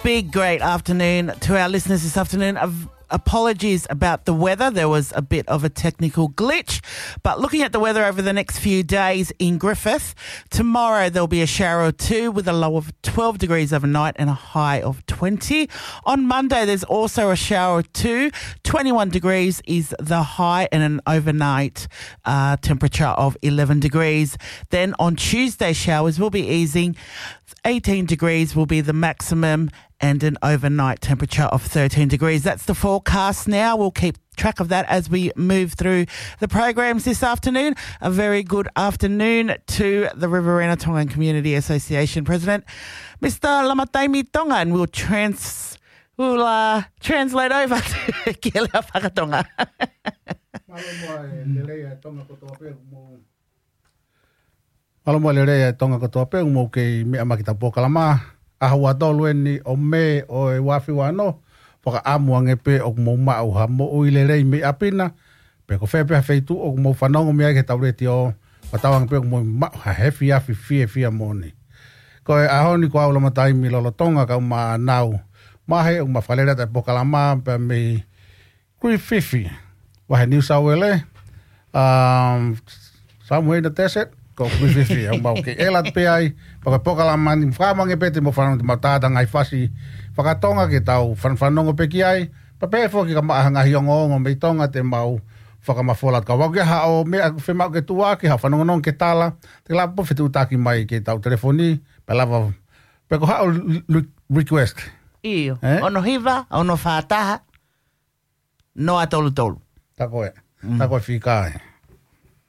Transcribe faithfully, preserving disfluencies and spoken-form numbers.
Big great afternoon to our listeners this afternoon. Av- Apologies about the weather. There was a bit of a technical glitch. But looking at the weather over the next few days in Griffith, tomorrow there'll be a shower or two with a low of twelve degrees overnight and a high of twenty. On Monday, there's also a shower or two. Twenty-one degrees is the high and an overnight uh, temperature of eleven degrees. Then on Tuesday, showers will be easing. Eighteen degrees will be the maximum and an overnight temperature of thirteen degrees. That's the forecast now. We'll keep track of that as we move through the programs this afternoon. A very good afternoon to the Riverina Tongan Community Association President, Mister Lamataimi Tonga, and we'll trans- we'll uh, translate over to Kielea Fakatonga. Mālō muʻa e lelei ʻa e Tonga kotoa pē, mou. Mālō muʻa e lelei ʻa e Tonga kotoa pē, mou kei meʻa mai ki heʻetau polokalama. ʻAho ua tolu eni ʻo Mē ʻo e ua afe ua ono, fakaʻamu ange pē ʻoku mou maʻu ha moʻui lelei mei ʻapi na, pe ko fē pē ha feituʻu ʻoku mou fanongo mei ai ki heʻetau letiō, fakatauange pē ʻoku mou maʻu ha efiafi fiefia moʻoni. Ko e ʻaho ni ko au Lamataimi lolotonga kau ma Nau Mahe, ʻoku ma fakalele atu e polokalama pea mei Griffith, Vahe New South Wales, um, somewhere in the desert, ko Griffith, ʻoku mau kei ʻela pē ai, pea ko e polokalama ni, fakaʻamu ange pē te mou fanongo, te mou tātā ngaahi fasi fakatonga ke tau fan- fanongo pē ki ai, pea pehē foki ka maʻu ha ngaahi ongoongo mei Tonga te mau fakamafola atu. Kapau ʻoku ʻi ai haʻo meʻa ʻoku fiemaʻu ke tuʻuaki, haʻo fanongonongo ke tala, te ke lava pē ʻo fetuʻutaki mai ki heʻetau telefoni, pea lava, pe ko haʻo re- re- request. ʻIo, Eh? ono hiva, ono fā taha, noa tolu tolu. Tā ko ē. Mm. Tā ko e fika ē.